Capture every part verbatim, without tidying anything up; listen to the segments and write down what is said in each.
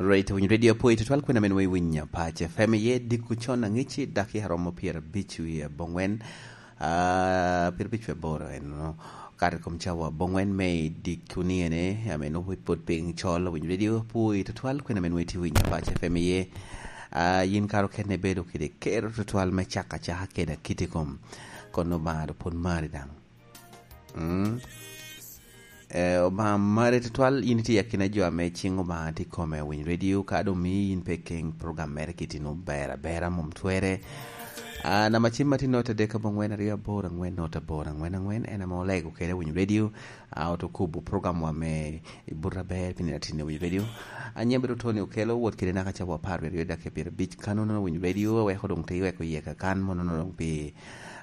Right, winyo radio apoyi tutwal kwena men we winya pace. Fem iye dikku con angici daki aromo pier abic wie abongwen. Ah, pier abic wie aboro en no. Kare kom cawa abongwen me dikku ni ene, amen opo pod piny col winyo radio apoyi tutwal kwena men we ti winya pace. Fem iye. Ah, yin karo kene bedo kede kero tutwal me caka caka kede akiti kom. Kono ba do pod mari dang. Mm. Eh, Obaŋa mare tutwal, in itye akina jo ame ciŋ Obaŋa tye kome Winy Radio, ka doŋ mii in pe keŋ program mere kitino ber abera, mom twere. Ah, nama cim ma tye nota dek abongwen aryo aboro angwen nota aboro angwen angwen, en ame olego kede Winy Radio. Ah, oto kubo program wa me i buto aber pi nino atin i Winy Radio. Anyem bedo Tony Okello, wot kede naka cawa apar ryo dak i pyerabic, kano nono Winy Radio, weko doŋ te weko iye kakan, mono nono doŋ pi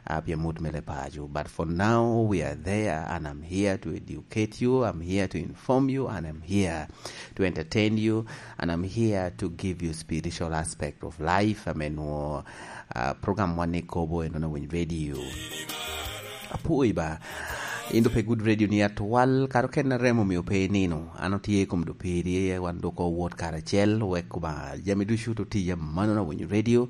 ah, pi amut me lepaco. But for now, we are there, and I'm here to educate you, I'm here to inform you, and I'm here to entertain you, and I'm here to give you spiritual aspect of life. Ame nwo, ah, program wan ni kobo eno na Winy Radio. Apoyi ba, in do pe good radio ni atwal, karo ken na remo mio pe nino. Ano tye kom do piri, wan do ko wot karacel, wek Obaŋa jami ducu to tiya mano na Winy Radio.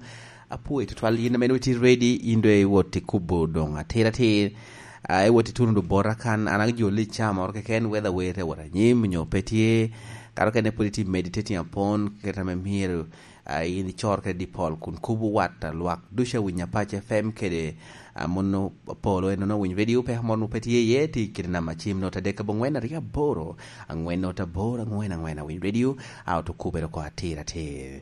Apoyi tutwal yin ame nwe ti ready, in do iwot i kubo doŋ atir atir. Ah, iwot i tuno do bota kan, an ajo li ca moro keken, whether wete wot anyim, nyo pe tye. Karo kene pwod iti meditating upon, kit ame myero, ah, in icor kede di pol, kun kubo wat, ah, lwak ducu a Winy Apac F M kede, ah, mono polo enono Winy Radio, pe mono pe tye iye, ti kede nama cim nota dek abongwen aryo aboro, angwen nota aboro, angwen angwen a Winy Radio, ah, oto kubere ko atir atir.